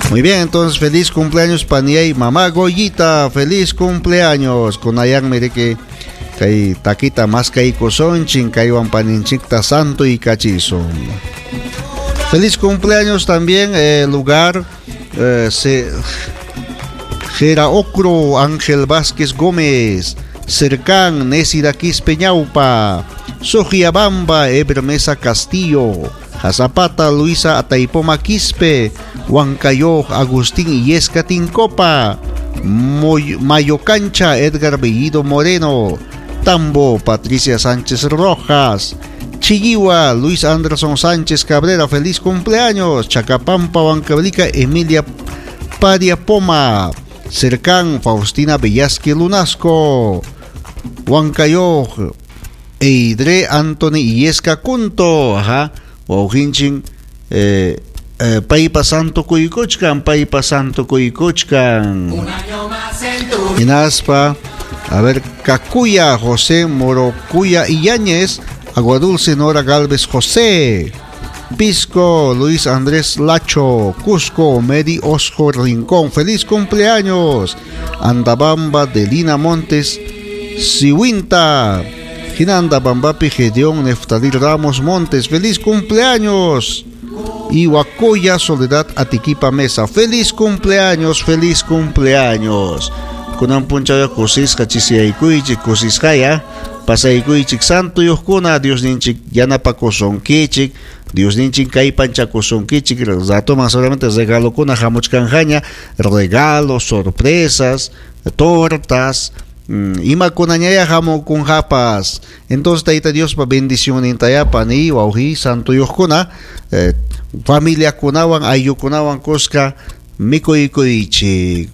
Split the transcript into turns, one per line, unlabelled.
Muy bien, entonces feliz cumpleaños paniay mamá Goyita, feliz cumpleaños. Kunayanmi riki kay takita maskaykusunchik kaywan paninchikta santo y kachisun. Feliz cumpleaños también lugar Geraocro Ángel Vázquez Gómez, Cercán Nesida Quispe Ñaupa, Sojiabamba Eber Mesa Castillo, Jazapata Luisa Ataipoma Quispe, Huancayo Agustín Illesca Tincopa, Mayocancha Edgar Bellido Moreno, Tambo Patricia Sánchez Rojas, Chilliwa Luis Anderson Sánchez Cabrera, feliz cumpleaños, Chacapampa Huancavelica Emilia Paria Poma, Cercán Faustina Bellasque Lunasco, Huancayo Eidre Anthony Illesca Cunto, ajá, wawqinchin paypa santo kuykuchkan, paypa santo kuykuchkan. Hinaspa, a ver, Cacuya José Morocuya Illañez, Agua Dulce Nora Galvez José, Pisco Luis Andrés Lacho, Cusco Medi Osjo Rincón, feliz cumpleaños. Andabamba Delina Montes Siwinta, Hinanda Bambapi Gedeón Neftalí Ramos Montes, feliz cumpleaños. Y Huacoya Soledad Atiquipa Mesa, feliz cumpleaños, feliz cumpleaños. Kunan punchawya kusisqa chisiyaykuychik, kusisqaya pasaykuychik santuyuqkuna, Diosninchik yanapakusunkichik, Diosninchik kallpanchakusunkichik, ratoman solamente regalokuna hamuchkanqaña, regalos, sorpresas, tortas, imakunañaya hamukunqapas. Entonces Tayta Diospa bendicionintaya pani wawqi santuyuqkuna, familiakunawan ayllukunawan kuska mikuykuychik.